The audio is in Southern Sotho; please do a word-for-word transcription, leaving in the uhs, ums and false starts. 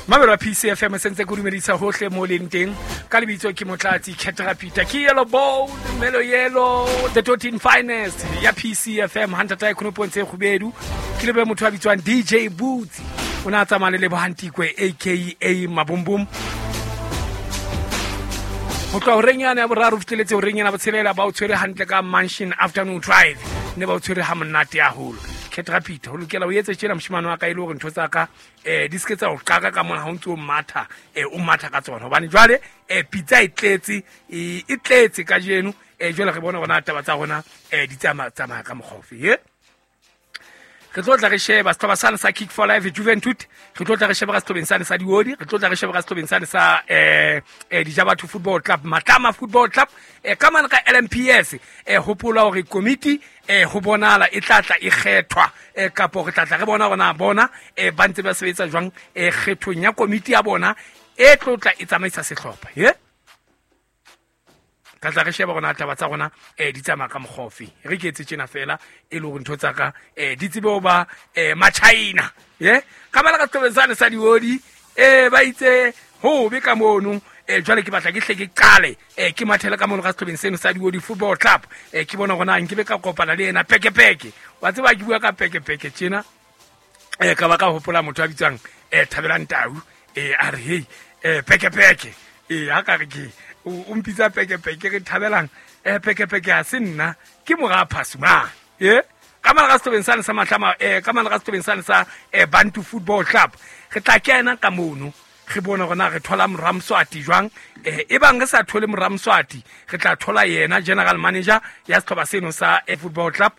Mamelo wa P C F M, sentse ke dumedisa hohle mo leng teng. Ka lebitso ke Motlatsi Caterapita, ke Yellow Bone Melo Yellow, the thirteen finest ya P C F M. Hantata e khonopong tse kgubedu ke lebe motho a bitswang D J Boots, o ne a tsamaya le Lebohantikwe aka Mabumbum. Ho tloha horeng yane ya boraro ho fihleletse horeng ena botshelela, ba o tshwere hantle ka Mansion Afternoon Drive, ne ba o tshwere ha monate haholo. Caterapita, ho lokela o etse tjena, moshemane wa ka, e le hore ntho tsa ka um di se ke tsa o qaka ka mona ha o ntse o matha, um o matha ka tsona, hobane jwale um pitsa e tletse, e e tletse kajeno. um jwale re bona rona taba tsa rona um di tsamaya tsamaya ka mokgwa ofe ye. Re tlo tla re sheba setlhopha sane sa Kick for Life Juventud, re tlo tla re sheba ka setlhopheng sane sa Diodi, re tlo tla re sheba ka setlhopheng sane sa um Dijabatho Football Club, Matlama Football Club, um ka mane ka L M P S. um hopola hore komiti um ho bonahala e tla tla e kgethwa, um kapo re tla tla re bona hore na bona um ba ntse ba sebetsa jwang um kgethong ya komiti ya bona e tlo tla e tsamaisa sehlopha ye. Ka tla re sheba rona taba tsa rona um di tsamaya ka mokgwa ofe. Re ke etse tjena fela e le hore ntho tsa ka um di tsebe ho ba um machina ye. Ka bala ka sehlobeng sane sa Diodi, um ba itse hobe ka mono. um jwale ke batla ke hle ke qale um ke mathele ka mono ka sehlobeng seno sa Diodi Football Club, um ke bona hore na nkebe ka kopana le ena Pekepeke. Wa tseba ke bua ka Pekepeke tjena, um ka ba ka hopola motho a bitswang um Thabelang Tau, um a re hei, um Pekepeke, ee, ha ka re ke o o mpitsa Pekepeke. Re Thabelang, um Pekepeke ha se nna, ke mora Phasumane e ka mane ka sehlobeng sane sa Matlama, um ka mane ka sehlobeng sane sa um Bantu Football Club. Re tla kena ka mono, re bone hore na re thola Moramswati jwang. um e bang re sa thole Moramswati, re tla thola yena general manager ya sehlopha seno sa eh, football club.